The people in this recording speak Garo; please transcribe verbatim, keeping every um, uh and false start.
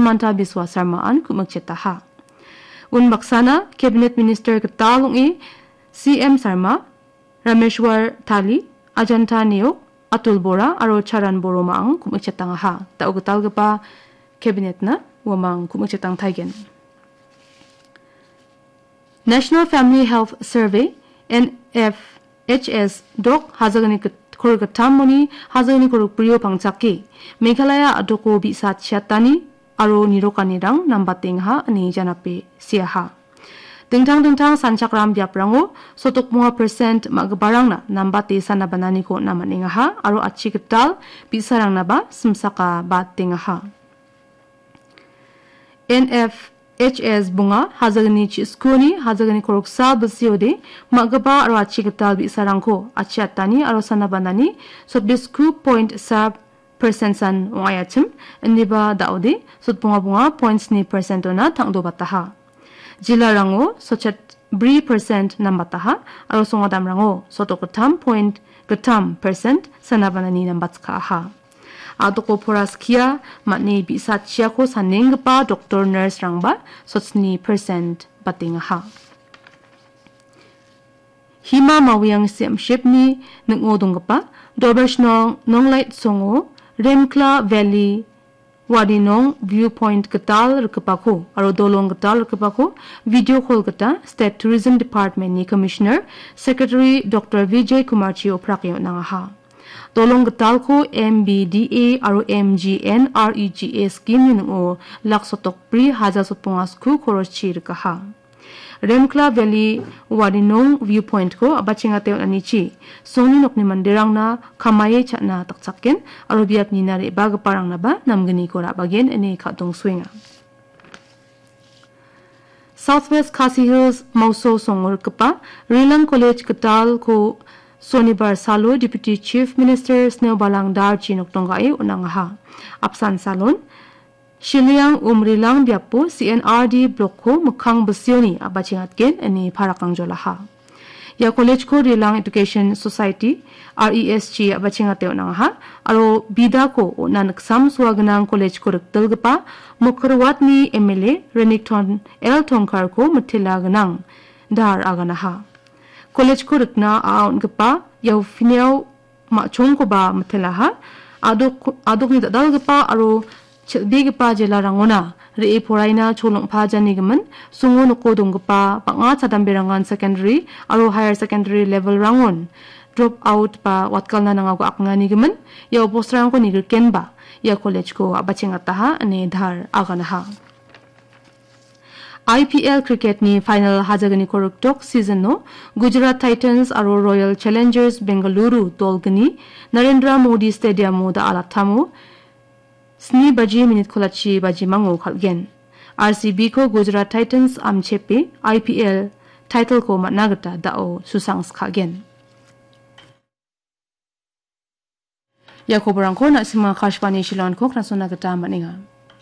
Himanta Biswa Sarmaan ku·mikjetaha. Unbaksana Cabinet Minister gital ong·e C M Sarma, Rameshwar Tali, Ajanta Neok, Atul Bora aro Charan Boromang ku·mikjetangaha. Da·o gitalgipa Cabinet-na uamang ku·mikjetangtaigen. National Family Health Survey, N F H S, dok hajagni git-, korgittamoni hajagni korokbrio pangchake Meghalaya a·doko bi·sa chiatani aro nirokanirang nambatengaha ine janape seaha. Dingtang dingtang sanchakram biaprango sotokmonga percent ma·giparangna nambate sana bananiko on·a man·engaha aro achi gital bi·sarangnaba simsaka batengaha. N F H S bonga hajagni chi-, skuni hajagni koroksa bilsiode ma·gipa aro achi gital bi·sarangko achiatani aro sana banani sotbisku point sa percent san ong·aiachim, indiba da·ode sotbonga bonga point sni percent-ona tangdobataha. Jilarango sotchet bri percent nambataha aro songadamrango sotokgittam point gittam percent sana banani nambatskaaha. A·doko pora skia man·e bi·sa chiako sanenggipa doktor, nurse-rangba sotsni percent batengaha. Hima Mawiang Siamshipni ning·o donggipa Dobesh Nong-, Nonglait Songo, Remkla Valley, Warinong Viewpoint gital rikgipako aro dolong gital rikgipako video call gita State Tourism Department-ni Commissioner, Secretary Doktor Vijay Kumarchi oprake on·angaha. Dolong gitalko M B D A aro M G N R E G A scheme-ni ning·o lak sotok bri haja sotbonga sku koroschi rikaha. Remkla Valley Warinong Viewpoint-ko a·bachengate on·anichi songni nokni manderangna kamaie cha·na dakchaken aro biapnina re·bagiparangnaba namgniko ra·bagen ine ka·dongsoenga. South West Khasi Hills Mawso songo rikgipa Rilang College gitalko Sonibar salo Deputy Chief Minister Sniawbhalang Darji nokdonggae on·angaha. Apsan salon Shiliang Umrilang biapo C N R D block-ko mikkang bisioni a·bachengatgen ine parakang jolaha. Ia college-ko Rilang Education Society, R E S G, a·bachengate on·angaha, aro bidako on·a niksam soa gnang college-ko rikdilgipa Mokorwatni M L A Renikton L Tongkar-ko mitela gnang dahar aganaha. College-ko rikna a·a on·gipa Yaufiniao ma·chongkoba mitelaha. Adok-, adokni dal·dalgipa aro chel·begipa jelarangona re·e poraina cholongpajanigimin, songo noko donggipa bang·a chadamberangan secondary aro higher secondary level-rangon drop out ba watgalna nangago aknganigimin, ia obostrangko nigrikenba ia college-ko a·bachengataha ine dahar aganaha. I P L cricket-ni final hajagniko rikdok season-o Gujarat Titans aro Royal Challengers Bengaluru dolgni Narendra Modi Stadium-o da·alattamo sni baji minit kolachi bajimango kal·gen. R C B-ko Gujarat Titans amchepe I P L title-ko man·na gita da·o susangskagen. Ia koborangko na·sima Akashvani Shillong-ko knasona gita man·enga.